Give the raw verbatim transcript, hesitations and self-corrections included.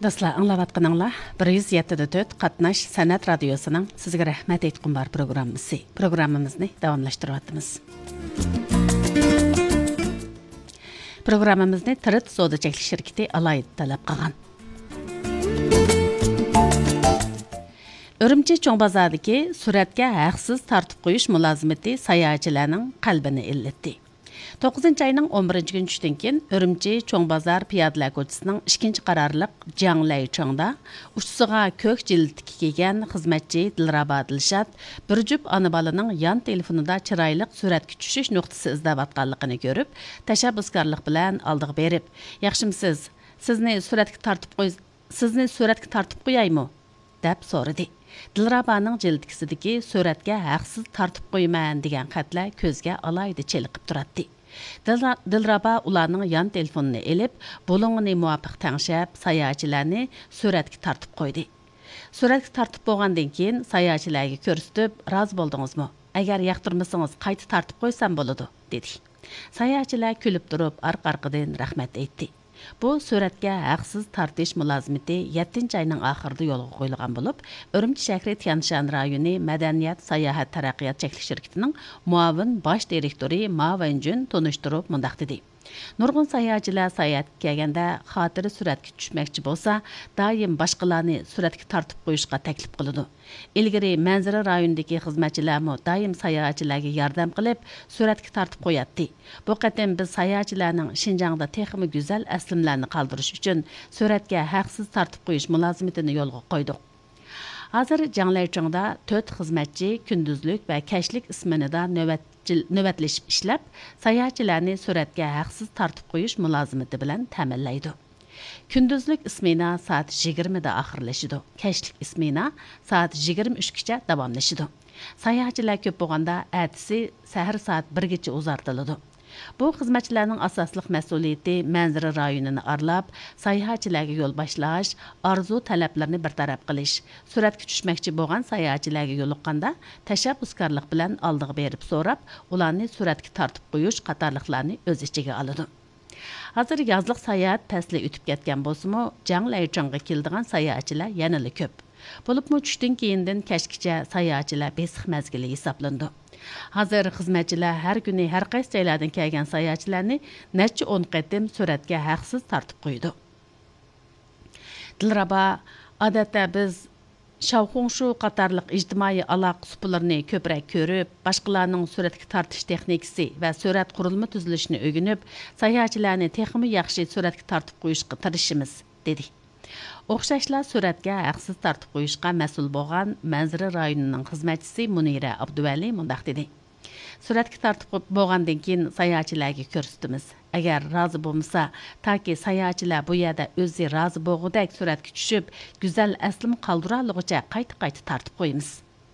دوستلار، ئاڭلاۋاتقىنىڭلار بىر يۈز يەتتە دە تۆت قاتناش سەنئەت رادىيوسىنىڭ سىزگە رەھمەت ئېيتقۇم بار پروگراممىسى. پروگراممىمىزنى داۋاملاشتۇرۇۋاتىمىز. پروگراممىمىزنى تىرىت سودا چەكلىك شىركىتى ئالاھىدە تەلەپ قىلغان. ئۈرۈمچى چوڭ بازاردىكى سۈرەتكە ھەقسىز تارتىپ قويۇش مۇلازىمىتى ساياھەتچىلەرنىڭ قەلبىنى ئىللىتتى. توققۇزىنچى ئاينىڭ ئون بىرىنچى كۈنى چۈشتىن كېيىن ئۈرۈمچى چوڭ بازار پىيادىلەر كوچىسىنىڭ ئىككىنچى قارارلىق جياڭ لەيچىڭدا ئۇچىسىغا كۆك جىلىتىكى كىيگەن خىزمەتچى دىلرابا دىلشات بىر جۈپ ئانا بالىنىڭ يان تېلېفونىدا چىرايلىق سۈرەتكە چۈشۈش نۇقتىسى ئىزدەۋاتقانلىقىنى كۆرۈپ، تەشەببۇسكارلىق بىلەن ئالدىغا بېرىپ، ياخشىمۇسىز؟ سىزنى سۈرەتكە تارتىپ قوي-، سىزنى سۈرەتكە تارتىپ قويايمۇ؟ دەپ سورىدى. دىلرابانىڭ جىلىتكىسىدىكى سۈرەتكە ھەقسىز تارتىپ قويىمەن دېگەن خەتلەر كۆزگە ئالاھىدە چېلىقىپ تۇراتتى. دىلرا-، دىلرابا ئۇلارنىڭ يان تېلېفونىنى ئېلىپ، بۇلۇڭىنى مۇۋاپىق تەڭشەپ، ساياھەتچىلەرنى سۈرەتكە تارتىپ قويدى. سۈرەتكە تارتىپ بولغاندىن كېيىن، ساياھەتچىلەرگە كۆرسىتىپ، رازى بولدىڭىزمۇ؟ ئەگەر ياقتۇرمىسىڭىز، قايتا تارتىپ قويسام بولىدۇ، دېدى. ساياھەتچىلەر كۈلۈپ تۇرۇپ، ئارقا-ئارقىدىن رەھمەت ئېيتتى. بۇ سۈرەتكە ھەقسىز تارتىش مۇلازىمىتى يەتتىنچى ئاينىڭ ئاخىرىدا يولغا قويۇلغان بولۇپ، ئۈرۈمچى شەھىرى تيەنشان رايونى مەدەنىيەت ساياھەت تەرەققىيات چەكلىك شىركىتىنىڭ مۇئاۋىن باش دىرېكتورى ما ۋېنجۈن تونۇشتۇرۇپ مۇنداق دېدى: نۇرغۇن ساياھەتچىلەر ساياھەتكە كەلگەندە خاتىرە سۈرەتكە چۈشمەكچى بولسا، دائىم باشقىلارنى سۈرەتكە تارتىپ قويۇشقا تەكلىپ قىلىدۇ. ئىلگىرى مەنزىرە رايونىدىكى خىزمەتچىلەرمۇ دائىم ساياھەتچىلەرگە ياردەم قىلىپ، سۈرەتكە تارتىپ قوياتتى. بۇ قېتىم بىز ساياھەتچىلەرنىڭ شىنجاڭدا تېخىمۇ گۈزەل ئەسلىمىلەرنى قالدۇرۇش ئۈچۈن سۈرەتكە ھەقسىز تارتىپ قويۇش مۇلازىمىتىنى يولغا قويدۇق. ھازىر جياڭلەيچىڭدا تۆت خىزمەتچى كۈندۈزلۈك ۋە كەچلىك ئىسمېنىدا نۆۋەتچىل-، نۆۋەتلىشىپ ئىشلەپ، ساياھەتچىلەرنى سۈرەتكە ھەقسىز تارتىپ قويۇش مۇلازىمىتى بىلەن تەمىنلەيدۇ. كۈندۈزلۈك ئىسمېنا سائەت يىگىرمىدە ئاخىرلىشىدۇ، كەچلىك ئىسمېنا سائەت يىگىرمە ئۈچكىچە داۋاملىشىدۇ. ساياھەتچىلەر كۆپ بولغاندا، ئەتىسى سەھەر سائەت بىرگىچە ئۇزارتىلىدۇ. بۇ خىزمەتچىلەرنىڭ ئاساسلىق مەسئۇلىيىتى مەنزىرە رايونىنى ئارىلاپ، ساياھەتچىلەرگە يول باشلاش، ئارزۇ تەلەپلىرىنى بىر تەرەپ قىلىش، سۈرەتكە چۈشمەكچى بولغان ساياھەتچىلەرگە يولۇققاندا تەشەببۇسكارلىق بىلەن ئالدىغا بېرىپ سوراپ، ئۇلارنى سۈرەتكە تارتىپ قويۇش قاتارلىقلارنى ئۆز ئىچىگە ئالىدۇ. ھازىر يازلىق ساياھەت پەسلى ئۆتۈپ كەتكەن بولسىمۇ، جياڭ لەيچىڭغا كېلىدىغان ساياھەتچىلەر يەنىلا كۆپ. بولۇپمۇ چۈشتىن كېيىندىن كەچكىچە ساياھەتچىلەر بېسىق مەزگىلى ھېسابلىنىدۇ. ھازىر خىزمەتچىلەر ھەر كۈنى ھەر قايسى جايلاردىن كەلگەن ساياھەتچىلەرنى نەچچە ئون قېتىم سۈرەتكە ھەقسىز تارتىپ قويىدۇ. دىلرابا، ئادەتتە بىز شاۋخۇڭشۇ قاتارلىق ئىجتىمائىي ئالاقە سۇپىلىرىنى كۆپرەك كۆرۈپ، باشقىلارنىڭ سۈرەتكە تارتىش تېخنىكىسى ۋە سۈرەت قۇرۇلما تۈزۈلۈشىنى ئۆگىنىپ، ساياھەتچىلەرنى تېخىمۇ ياخشى سۈرەتكە تارتىپ قويۇشقا تىرىشىمىز، دېدى. ئوخشاشلا سۈرەتكە ھەقسىز تارتىپ قويۇشقا مەسئۇل بولغان مەنزىرە رايونىنىڭ خىزمەتچىسى مۇنىرە ئابدۇۋەلى مۇنداق دېدى: سۈرەتكە تارتىپ بولغاندىن كېيىن ساياھەتچىلەرگە كۆرسىتىمىز. ئەگەر رازى بولمىسا، تاكى ساياھەتچىلەر بۇ يەردە ئۆزى رازى بولغۇدەك سۈرەتكە چۈشۈپ، گۈزەل ئەسلىمە قالدۇرالىغۇچە قايتا-قايتا تارتىپ قويىمىز.